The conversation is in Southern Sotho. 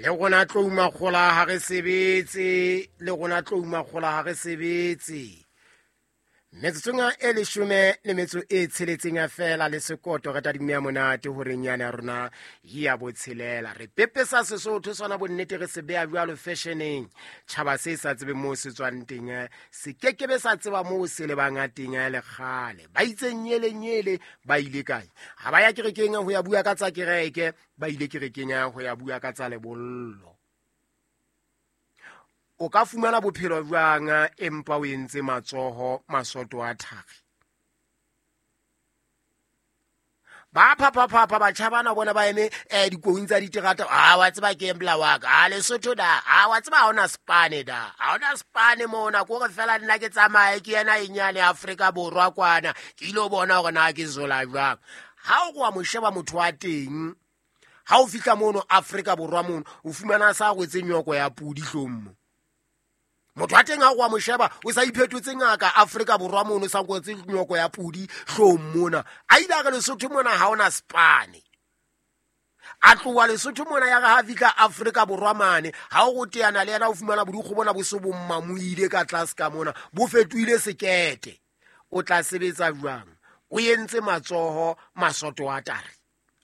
Le rona tlou makgola ha re sebetse, le rona tlou makgola ha re sebetse. Metsotsong e leshome le metso e tsheletseng feela le sekoto re tadimme ya monate horeng yane ya rona ya botshelela. Re pepesa Sesotho sona bonnete re se beha jwalo fashioneng. Tjhaba se sa tsebeng moo se tswang teng se kekebe sa tseba moo se lebang teng le kgale. Ba itse nyele nyele ba ile kae? Ha ba ya kerekeng ho ya bua ka tsa kereke, ba ile kerekeng ho ya bua ka tsa lebollo. O ka fumana bophelo jwang empa o entse matsoho masoto a thari? Ba phaphaphapha batjha bana bona ba eme dikoung tsa diterata. A wa tseba ke embla wa ka, a Lesotho da, a wa tseba ha ona spane da, ha ona spane mona, ko re fela nna ke tsamaye ke yena e nyane Afrika Borwa kwana, ke ile bona hore na ke zola jwang. Ha o wa mo sheba motho wa teng, ha o fihla mono Afrika Borwa mono, o fumana sa rwetse nyoko ya pudi hlong mo. Motho wa teng ha o wa mo sheba, o sa iphetotse ngaka Afrika Borwa mono, sa rwetse nyoko ya pudi hlong mona. A ile a re Lesotho mona ha ona spane. A tloha Lesotho mona ya re ha fihla Afrika Borwa mane, ha o teana le yena o fumana bodikgo bona bo se bo mmamoile ka tlase ka mona, bo fetohile sekete. O tla sebetsa jwang? O entse matsoho masoto a tare.